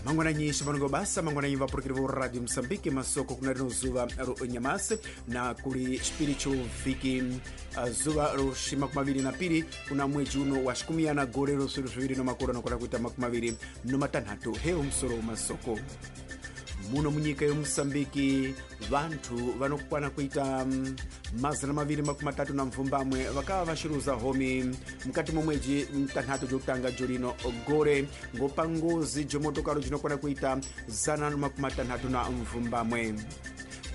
Mangwananyi shivanongo basa, mangwananyi vapurukiri vo Radio Mosambike. Masoko kuna rino zuva ro nyamasi na kuli xipiri cho vhiki, zuva ro 22 kuna mwedzi uno wa xikumiyana gore ro swilo zviviri no makore anokona kuita 26. Hewo musoro wa masoko. Muno munyika yomusambiki vanthu vanokwana kuita 238 vakava vaxiruza homi mukati mwa mwedzi mtanhatu jokutanga jolino gore ngopa ngozi jomotokaro jinokwana kuita 168.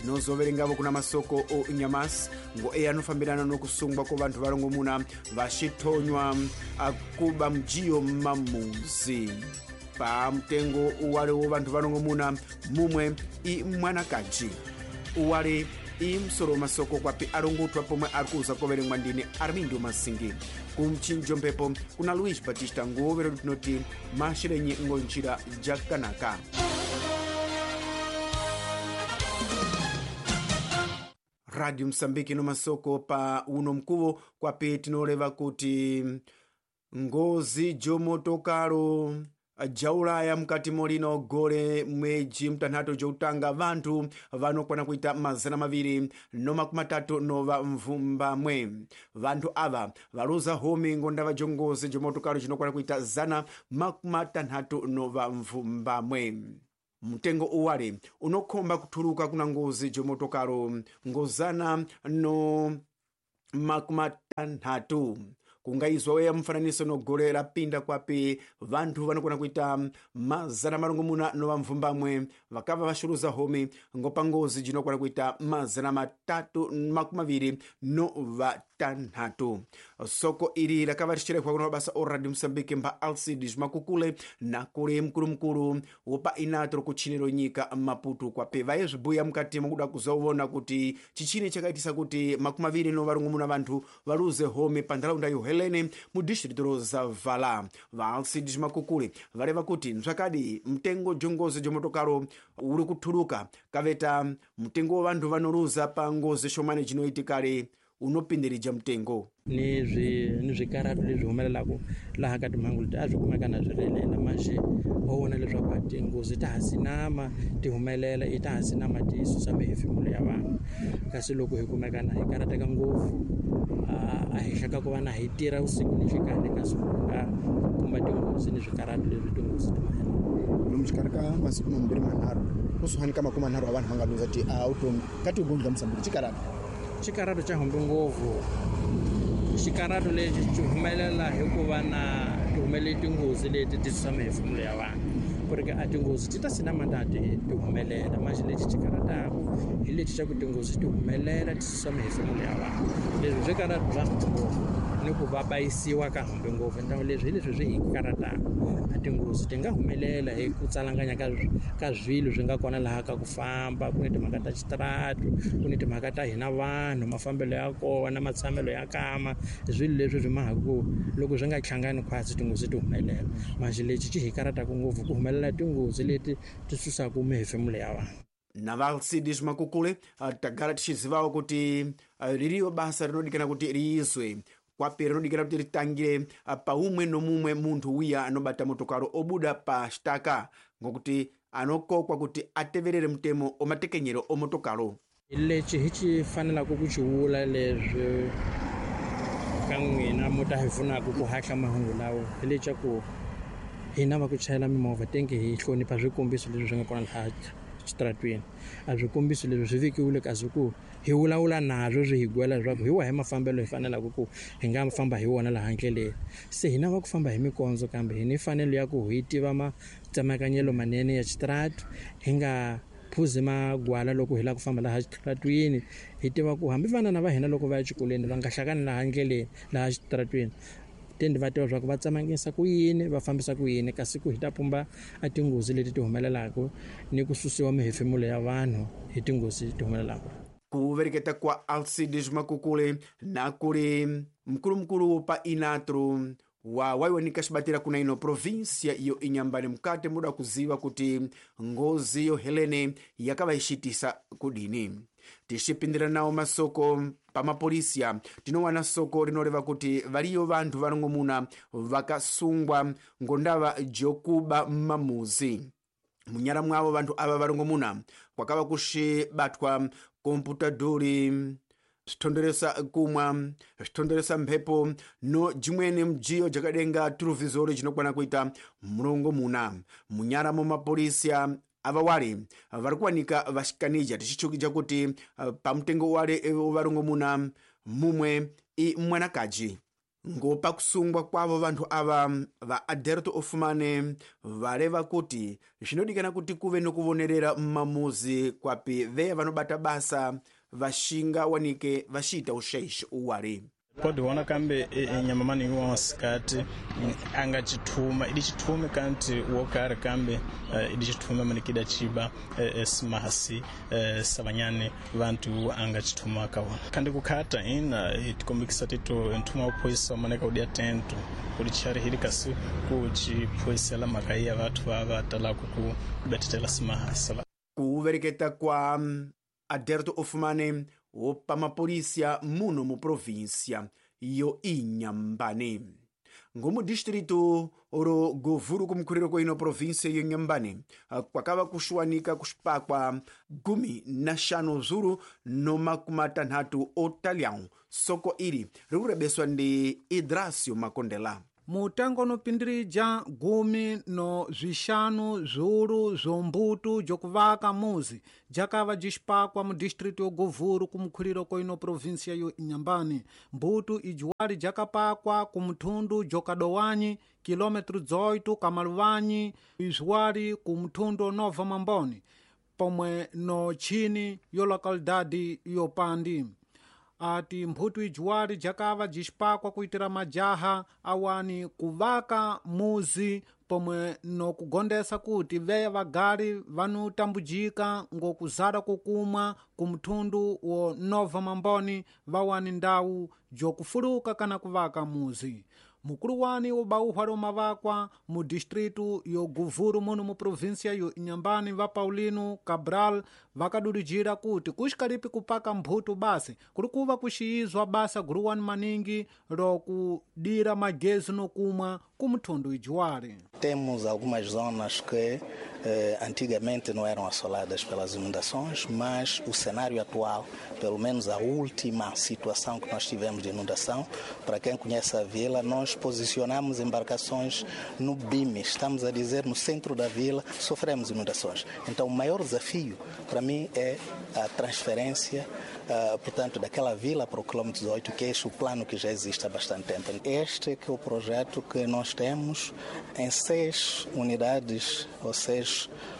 Tinozoverengavo kuna masoko o nyamasi ngo eya anofambirana nokusungwa ko vanthu varongomuna vaxithonywa akuba mjiyo mamuzi. Pa mtengo uwale wo vanthu varongomuna mumwe i mwanakaji uwale i msoro masoko kwapi alongotwa pomwe ari kuza koverengwa ndini Armindo Masingi. Kumchinjo mphepo kuna Luis Batista ngovero tinoti maxirenyi ngonjira jakanaka. Radio Mosambiki no masoko pa uno mkuvo kwapi tinoreva kuti ngozi jomotokaro jaulaya mukati molino gore mwedzi mtanhatu jokutanga vanthu vanokwana kuita 238. Vanthu ava valuza homi ngondava jongozi jomotokaro jinokwana kuita 168. Mtengo uwale unokhomba kuthuluka kuna ngozi jomotokaro ngozana no 60. Kungaizwa weya mfananiso no gore rapinda kwapi vanthu vanokona kuita 608 vakava vaxuruza homi ngopa ngozi jinokona kuita 326. Soko ili rakava rixirekhwa kuna mabasa o Radio Mosambike mba Alcides Makukule na kuli mkulumkulu wopa inatro kutchiniro nyika Maputo kwapi vaye zvibuya mukati mwakuda kuzovona kuti chichini chakaitisa kuti 24 vanthu valuze homi pa ntharaunda yo Helene mu distrito ro Zavala. Va Alcides Makukule vareva kuti nzvakadi mtengo jongozi jomotokaro uri kuthuluka kaveta mtengo wa vanthu vanoluza pa ngozi xomani jinoitikale unopindirija mtengo ni swikarhato leswi humelelaka laha ka timhangu leti a swi kumeka na swi rilela maxi ho vona leswaku tinghozi ta ha sinama ti humelela i ta ha sinama ti susa mihefemulo ya vanhu. Kasi loko hi kumeka na hi karhateka ngopfu a henhla ka ku va na hi tirha vusiku ni nhlikani, kasi ku nga kuma tinghozi ni swikarhato leswi tinghozi ti humelela lomu xikarhi ka masiku mambirhi manharhu kusuhani ka 30 wa vanhu va nga luza ti-automi ka tigondlo ta Mosambiki. Xikarhato xa humbi ngopfu. Xikarhato lexi xi humelela hikuva na ti humelele tinghozi leti ti susa mihefemulo ya vanhu, ku ri a tinghozi ti ta sinama ta ti humelela. Manjhe lexi xi karhataku hi lexi xa ku tinghozi ti humelela ti susa mihefemulo ya vanhu. Leswi swi karhata bya humbi ngopfu ni ku va bayisiwa ka humbi ngopfu. Ntango leswi hi leswi swi hi karhataka. A tinghozi ti nga humelela hi ku tsalanganya ka swilo swi nga kona laha ka ku famba. Ku ni timhaka ta xitaratu, ku ni timhaka ta hina vanhu, mafambelo ya kona, matshamelo ya kama, swilo leswi swi mahaka ku loko swi nga hlangani khwatsi tinghozi ti humelela. Manjhe lexi xi hi karhataka ngopfu ku humelela tinghozi leti ti susaka mihefemulo ya vanhu. Na va Alcides Makukule tagara tixizivawo kuti ririyo basa rinodikana kuti riizwe kwapi rinodikana kuti ritangire paumwe nomumwe munthu wiya anobata motokaro obuda pa xitaka, ngokuti anokokwa kuti ateverere mutemo omatekenyero omotokaro. Lexi hi xi fanelaka ku xi vula leswi ka n'wina mo ta hi pfunaka ku hatla mahungu lawa hi leswaku hina va ku chayela mimovha tenke hi hlonipha swikombiso leswi swi nga kona laha xitaratweni. A swikombiso leswi swi vekiwile kasi ku hi vulavula naswo swi hi gwela leswaku hi wahi mafambelo hi fanelaka ku hi nga famba hi wona laha ndleleni. Se hina va ku famba hi mikondzo kambe hi ni mfanelo ya ku hi tiva matsemakanyelo manene ya xitaratu, hi nga phuzi magwala loko hi lava ku famba laha xitaratwini. Hi tiva ku hambi vana va hina loko va ya exikolweni va nga hlangani laha ndleleni laha xitaratwini, tende va tiva leswaku va tsemangisa ku yini, va fambisa ku yini, kasi ku hi ta pumba a tinghozi leti ti humelelaka ni ku susiwa mihefemulo ya vanhu hi tinghozi ti humelelaka. Ku vereketa kwa Alcides Makukule na kuli mkulumkulu pa Inatro wa waiwanika xibatira kuna ino província iyo inyambani mukati muda kuziva kuti ngozi yo Helene yakava ixitisa kudini. Tixipindira nawo masoko pamapolisiya tinowana soko rinoreva kuti variyo vanthu varongomuna vakasungwa ngondava jokuba mamuzi. Munyara mwavo vanthu ava varongomuna kwakava kuxibatwa komputadhuri, zvithonderesa kumwa, zvithonderesa mphepo no jimweni mjiyo jakadenga turuvhizori jinokwana kuita murongomuna. Munyara mo mapolisiya ava wali vari kuwanika vaxikanija, tixichukija kuti pamutengo wale varongomuna mumwe i mwanakaji. Ngo pakusungwa kwavo vanthu ava, va Aderto Ofumane valeva kuti zvinodikana kuti kuve nokuvonerera mmamuzi kwapi veya vanobata basa vaxinga wanike vaxiita uxaixi uwali. Pode vona kambe nyama maningi wa masikati anga chithuma idi chithume kanti wokari kambe idi chithume manikida chiba simasi savanyane vantu anga chithuma kaona kandi kukhata ina itikombikisa tito nthuma uphoyisa maneka udia tento kuli chari hili kasi kuchiphoyisela mhaka ya vathu va talaku ku betetela simahasa. Kuvereketa kwa Aderto Ofumane wopa mapolisiya muno mu província yo Inhambane. Ngomu distrito ro Govuro kumkhuliro kwa ino província yo Inhambane kwakava kuxuwanika kuxipakwa 15 zuru no 60 otalhão. Soko ili rikurebeswa ndi Idracio Makondela. Mutengo unopindirija 15 zviuru zvombutu jokuvaka muzi jakava jixipakwa mu distrito yo Govuro kumkhuliro kwa ino província yo Inhambane. Mbutu ijiwali jakapakwa kumthundu jokadowanyi kilômetro 18 kamaluwanyi izwali kumthundu Nova Mamboni pomwe no chini yo localidade yopandi. Ati mphutu ijiwali jakava jixipakwa kuitira majaha awani kuvaka muzi pomwe nokugondesa kuti veya vagali vanotambujika ngokuzara kukumwa kumthundu wo Nova Mamboni vawani ndawu jokufuluka kana kuvaka muzi. Mukulu wani ubauhwa lomavakwa mu distritu yo Govuro muno mu província yo Inhambane va Paulino Cabral vakadulujira kuti kuxikalipi kupaka mphutu basi kuli kuva kuxiyizwa basa guluwani maningi lokudira magezi nokumwa kumthundu ijiwali. Temos algumas zonas que antigamente não eram assoladas pelas inundações, mas o cenário atual, pelo menos a última situação que nós tivemos de inundação, para quem conhece a vila, nós posicionamos embarcações no BIM, estamos a dizer no centro da vila, sofremos inundações. Então o maior desafio para mim é a transferência, portanto, daquela vila para o quilômetro 18, que é este o plano que já existe há bastante tempo. Este é que é o projeto que nós temos em 6 unidades ou 6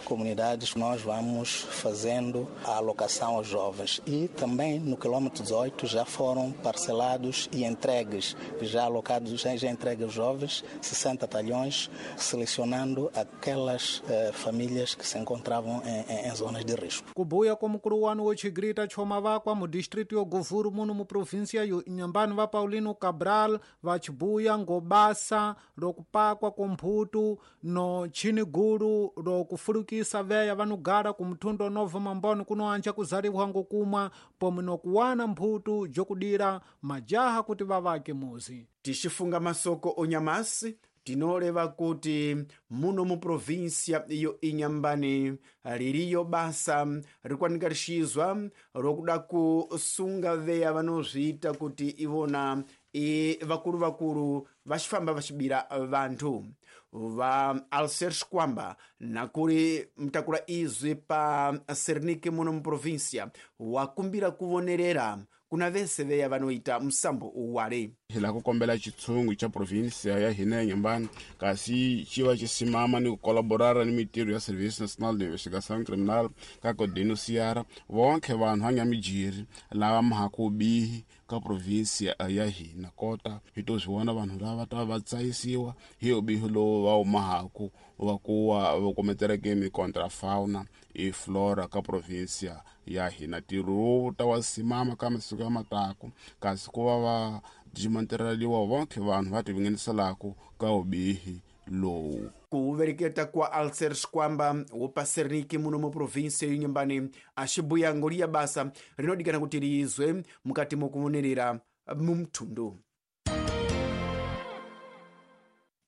comunidades, nós vamos fazendo a alocação aos jovens. E também no quilômetro 18 já foram parcelados e entregues, já alocados, já entregues aos jovens, 60 talhões, selecionando aquelas famílias que se encontravam em zonas de risco. Kubuya kwa mukulu wanu wochigrita chomavakwa mu distrito yo Govuro muno mu província yo Inhambane va Paulino Cabral vachibuya ngobasa lokupakwa komphutu no chinigulu lokufulukisa veya vanugala kumthundo Nova Mamboni kunoanja kuzaliwa ngokumwa pomwe nokuwana mphutu jokudira majaha kuti vavake muzi. Tixifunga masoko onyamasi tinoleva kuti muno mu província iyo Inhambane liriyo basa rikwanika lixizwa lokuda kusunga veya vanozviita kuti ivona i vakulu vakulu vaxifamba vaxibira vanthu. Va Alcer Xkwamba nakuli mtakula izwi pa Sernike muno mu província wakumbira kuvonerera kuna vese veya vanoita msambo uwale. Hi lava ku kombela xitshungu xa provinsia ya hina ya Inhambane kasi xi va xi simama ni ku kolaborara ni mitirho ya Service National de Investigação Criminal ka ku denunciara vonke vanhu va nga mijiri lava mhaku bihi ka provinsia ya hina kota hi to swi vona vanhu lava ta va tsayisiwa hi ubihi lowu va wu mahaku va ku va kometereke mikontrafauna i flora ka provinsia ya hina. Ntirho lowu ta wa simama ka masiku ya mataku kasi ku va va dimantereliwa vonke vanhu va tivingeniselaka ka ubihi lowu. Kuvereketa kwa Alcer Xkwamba wopa Sernike muno mu província yo Inhambane axibuya ngoliya basa rinodikana kuti liyizwe mukati mokuvonerera mumthundu.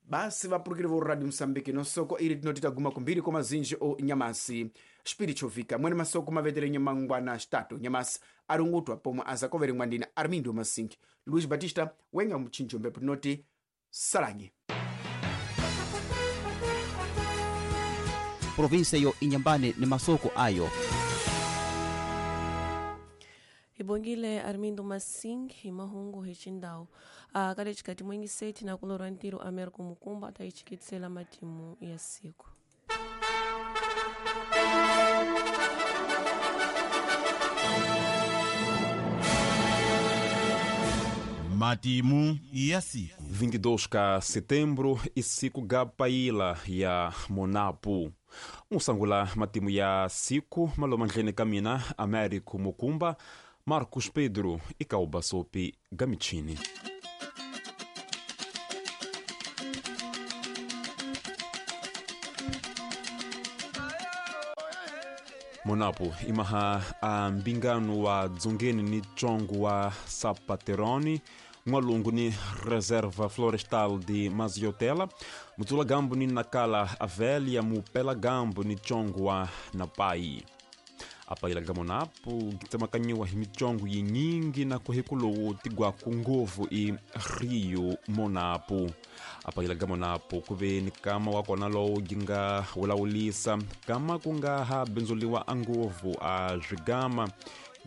Basi vapurukiri vo Radio Moçambique nosoko iri tinoti taguma kumbiri kwa mazinji o nyamasi spirichovika mwene masoko mavetere nyamangwana xitatu nyamasi arungutwa pomwe azakovere mwandina Armindo Masinki Luis Batista wenga mchinjo mbepo tinoti salanyi. Província yo Inhambane ni masoko ayo. Hibongile Armindo Masing hi mahungu hi xindhawu ka le xikati mwingiseti na kulorwa ntirho Americo Mukumba ta yi chikitsela matimu ya siku. Matimu ya siku 22 ka setembro isiku ga paila ya Monapo. Musangula matimu ya siku malomandleni ka mina Américo Mukumba, Marcos Pedro e Kaubasopi Gamichini. Monapo imaha a mbingano wa dzongeni ni tsongo wa Sapateroni, n'walungu ni Reserva Florestal de Maziotela, mutsula gambo ni Nakala Avélia, mupela gambo ni tsongo wa Napai. Apaila ga Monapo gitsemakanyiwa hi mitsongo yinyingi na kuhikulowu tigwaku ngovu i Rio Monapo. Apaila ga Monapo kuve ni kama wa kona lowu ginga wulawulisa kama ku nga ha bindzuliwa a ngovu a zwigama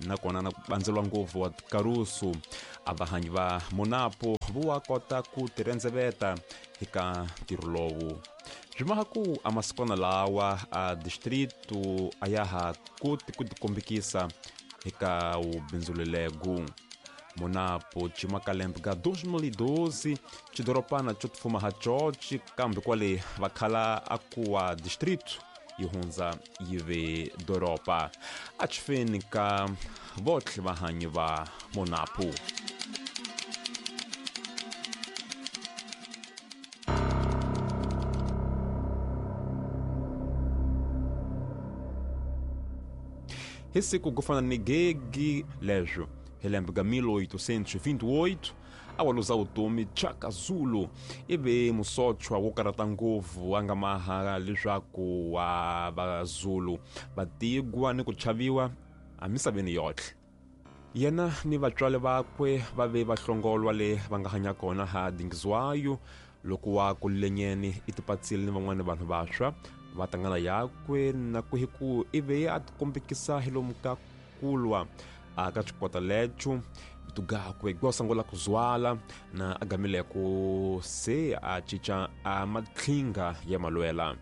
nakona na bandzelwa ngovu wa karusu. A vahanyi va Monapo vo kota ku tirhendzeveta eka ntirho lowu. Swimaha ku a masikwana lawa a distrito a ya ha koti ku tikombekisa eka wubindzulelego. Monapo cimakalembe ga 2012 xidoropana xo tifuma ha coci kambe kwale vakhala a kuwa distrito yi hundza yi ve doropa. A xifeni ka votlhe vahanyi va Monapo. Hi siku ku fana ni gegi leswo hi lembe ga 1828 a waluza vutomi Chaka Zulu ivi musochwa wo karata ngopfu a nga maha leswaku wa vazulu va tigwa ni ku chaviwa emisaveni yotlhe. Yena ni vatswari vakwe va ve va hlongolwa le va nga hanya kona ha Dingizwayo loko wa kulenyeni i tipatsile ni van'wana vanhu vantshwa va tangana yakwe na ku hiku ivi a tikombekisa hi lomu ka kulwa a ka xikwata lecho tugakwe gwa sangula kuzwala na agamile ku se a chicha a matlhinga ya malwela.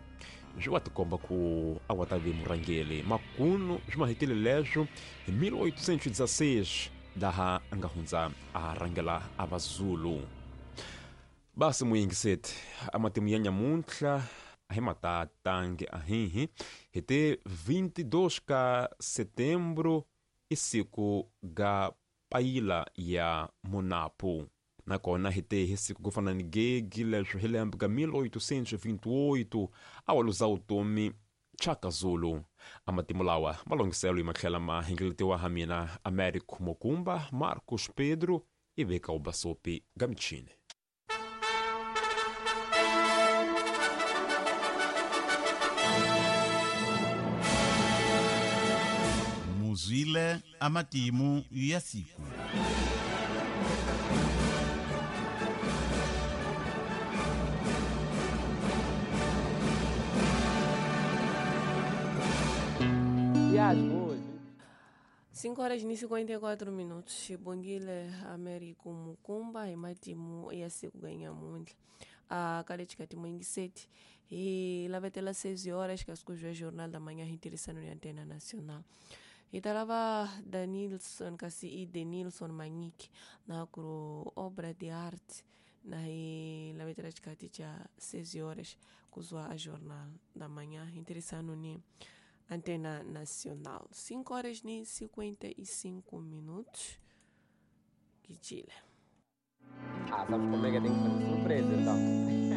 Swi wa tikomba ku a wa ta ve murhangeri makunu swi mahekele leswo hi 1816 laha a nga hundza a rhangela a vazulu. Basi muyingiseti a matimu ya nyamuntlha a hi matatangi ahihi hi te 22 ka setembro isiku ga paila ya Monapo. Nakona hi te hi siku ku fana ni gegi leswo hi lembe ga 1828 a waluza vutomi Chaka Zulu. A matimu lawa malongiselo hi matlhela ma hingeletiwa ha mina Américo Mukumba, Marcos Pedro e veka Ubasopi Gamichini. Muzwile amatimu ya siku. Cinco horas e 54 minutos. Xibongile Américo Mukumba hi matimu ya siku ga nyamuntlha. A ka le xikati mwingiseti hi lavetela 6 horas ka siku bya Jornal da Manhã hi tirhisano ya Antena Nacional. Hi ta lava Danilson kasi i Denilson Manyiki na ku obra de arte na hi lavetela xikati xa 6 horas kuzwa a Jornal da Manhã hi tirhisano ni Antena Nacional. 5 horas e 55 minutos. Que Chile. Ah, sabes como é que eu tenho que fazer surpresa então?